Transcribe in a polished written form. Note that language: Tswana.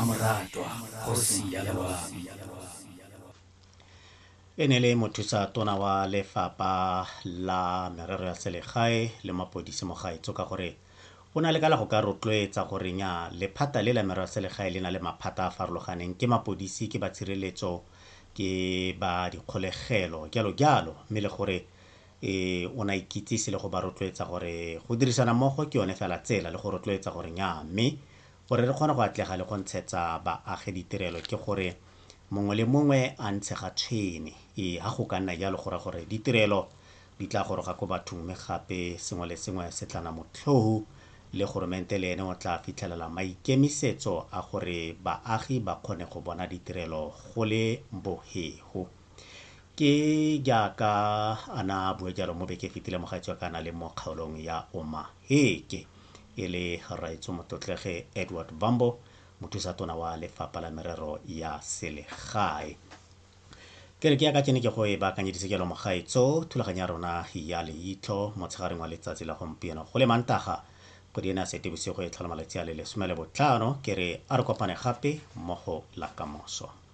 Mmamoratwa, kgosi ya loabi. E ne le mothusa tona wa lefapha la merero ya selegae le mapodisi mo gaetsho ka gore o na le ka la go ka rotloetsa gore nya lephata le la merero ya selegae le na le maphata a farologaneng, ke mapodisi, ke ba tshireletso, ke ba dikgolegelo, jalo jalo, mme le gore o na ikitsise le go ba rotloetsa gore go dirisana mmogo ke yone fela tsela, le go rotloetsa gore nya mme gore re kgone go atlega le go ntshetsa baagi ditirelo ke gore mongwe le mongwe a ntshe ga tshwene. Ha go ka nna jalo go raya gore ditirelo di tla goroga ko bathong, mme gape sengwe le sengwe se tla nna motlhofu, le goromente le ene o tla fitlhelela maikemisetso a gore baagi ba kgone go bona ditirelo go le bohego. Ke jaaka a na bue jalo mo beke e fetile mogaetsho ka na le mo kgaolong ya Omaheke, e le rraetsho motlotlege Edward Bambo, mothusa tona wa lefapha la merero ya selegae. Ke re ke ya ka tsene ke go e baakanyeditse jalo mogaetsho thulaganyo ya rona ya leitlho motshegareng wa letsatsi la gompieno go le Mantaga kgwedi ena ya Seetebosigo e tlhola malatsi a le 15. Ke re a re kopane gape mmogo la kamoso.